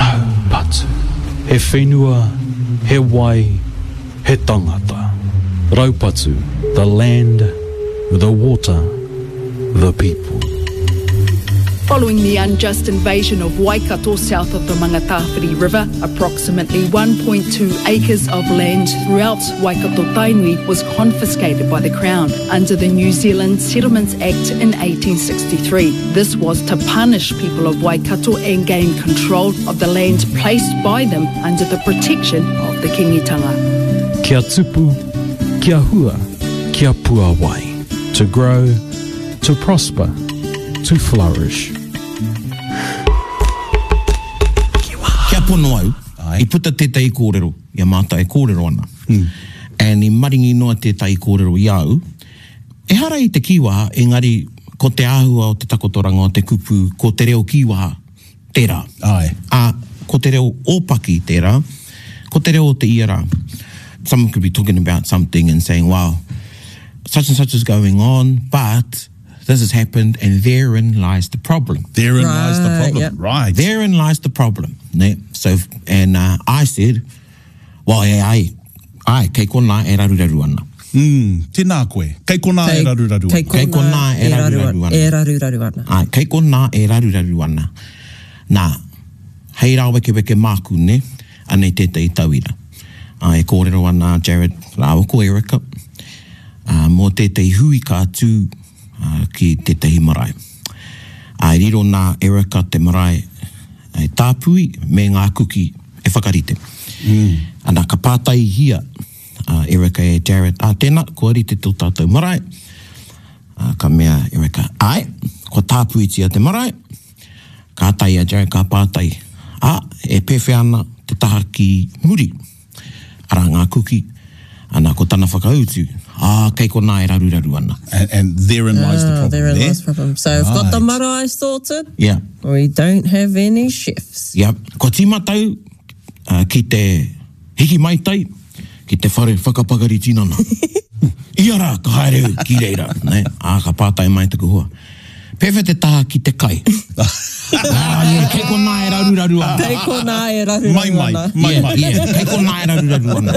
Raupatu. He whenua, he wai, he tangata. Raupatu, the land, the water, the people. Following the unjust invasion of Waikato south of the Mangatawhiri River, approximately 1.2 acres of land throughout Waikato Tainui was confiscated by the Crown under the New Zealand Settlements Act in 1863. This was to punish people of Waikato and gain control of the land placed by them under the protection of the Kingitanga. Kia tupu, kia hua, kia puawai. To grow, to prosper, to flourish. Kia pono au, i puta tētahi kōrero i a mātou e kōrero ana. And i maringi noa tētahi kōrero i a au, Ehara i te kīwaha, engari ko te āhua o te takotoranga o te kupu, ko te reo kīwaha tērā. Āe. Ā, ko te reo ōpaki tērā, ko te reo o te ia rā. Someone could be talking about something and saying, wow, such and such is going on, but this has happened and therein lies the problem. Therein right, lies the problem, yep. right. Therein lies the problem. Ne? So, and uh, I said, well, yeah, I, Āe, kei konā e raruraru ana. Mm, tēnā koe. Kei konā e raruraru ana. Kei konā e raruraru ana. E raruraru ana. Āe, kei konā e raruraru ana. Nā, hei rāwekeweke māku, nē, anei tētahi tauira. Ā, e kōrero ana a Jared rāua ko Erica, ā, mō tētahi hui ka tū, ā, ki tētahi marae. Ā, i riro nā Erica te marae e tāpui me ngā kuki e whakarite. Ana, ka pātaihia a Erica e Jared, Ā, tēnā, kua rite tō tātou marae? Ā, ka mea Erica, Āe, kua tāpuitia te marae. Kātahi a Jared ka pātai, Ā, e pēwhea ana te taha ki muri? Arā ngā kuki, ana, ko tana whakautu, ā, kei konā e raruraru ana. And, and therein lies the Ah, problem therein there. lies the problem. So we've got the Right. marae sorted. Yeah. We don't have any chefs. Yeah. Kua tīmata au uh, ki te hiki maitai, ki te whare whakapakari tinana. Ia rā, ka haere au ki reira. Ne? Ā, ka pātai mai taku hoa. Pēwhea te taha ki te kai? Ah, yeah, kei konā e raruraru ana. Kei konā e raruraru Mai mai, ana. mai mai. Yeah, yeah, kei konā e raruraru ana.